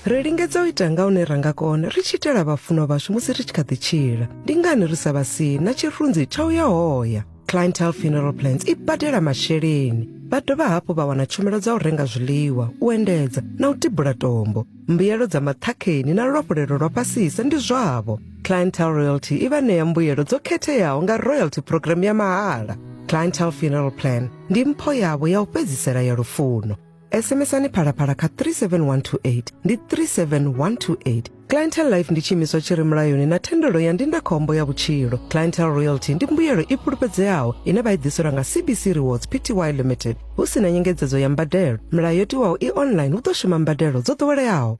Ri lingedza u ita nga hune ra nga kona ri tshi itela vhafunwa vhashu musi ri tshi kha ḓi tshila. Ndi ngani ri sa vha sii na tshirunzi tsha u ya hoya? Clientele Funeral Plans i badela masheleni. Vha dovha hafhu vha wana tshumelo dza u renga zwiḽiwa, u endedza na u tibula tombo. Mbuyelo dza maṱhakheni na luafhulelo lwa fhasisa ndi zwavho. Clientele Royalty i vha ṋea mbuyelo dzo khetheaho nga royalty program ya mahala. Clientele Funeral Plan ndi mpho yavho ya u fhedzisela ya lufuno. SMSani Phalaphala kha 37128 ndi 37128. Clientele Life ndi tshiimiswa tshi re mulayoni na thendelo ya ndindakhombo ya vhutshilo. Clientele Royalty ndi mbuyelo i fhulufhedzeaho ine vha i ḓiselwa nga CBC Rewards Pty Limited hu si na nyengedzedzo ya mbadelo. Milayo yo tiwaho i online hu ḓo shuma mbadelo dzo ḓoweleaho.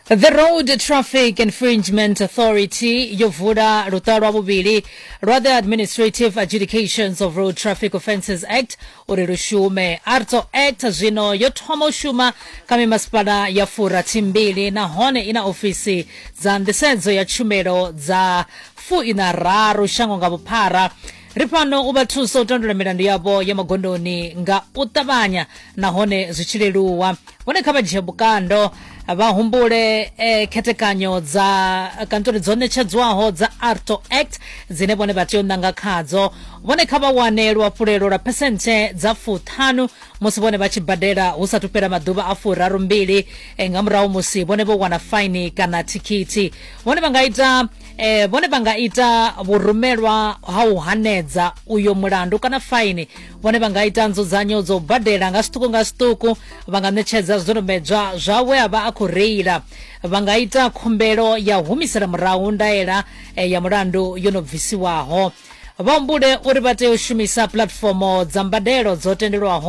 The Road Traffic Infringement Authority yo vula luṱa lwa vhuvhili lwa the Administrative Adjudications of Road Traffic Offences Act uri lu shume. ARTO Act zwino yo thoma u shuma kha mimasipala ya furathimbili nahone i na ofisi dza nḓisedzo ya tshumelo dza fuiṋararu shango nga vhuphara. Ri fhano u vha thusa u tandulula milandu yavho ya magondoni nga u ṱavhanya nahone zwi tshi leluwa. Vhone kha vha dzhie vhukando vha humbule eh, khethekanyo dza kantori dzo ṋetshedzwaho dza arto act dzine vhone vha tea u ṋanga khadzo. Vhone kha vha wane luafhulelo lwa phesenthe dza fuṱhanu musi vhone vha tshi badela hu sathu fhela maḓuvha a furarumbili eh, nga murahu musi vhone vho wana faini kana thikhithi. Vhone vha nga ita eh, vhone vha nga ita vhurumelwa ha u hanedza uyo mulandu kana faini. Vhone vha nga ita nzudzanyo dzo u badela nga zwiṱuku nga zwiṱuku, vha nga ṋetshedza zwidodombedzwa zwa we a vha a khou reila, vha nga ita khumbelo ya u humisela murahu ndaela eh, ya mulandu yo no bvisiwaho. Vha humbule uri vha tea u shumisa puḽatifomo dza mbadelo dzo tendelwaho.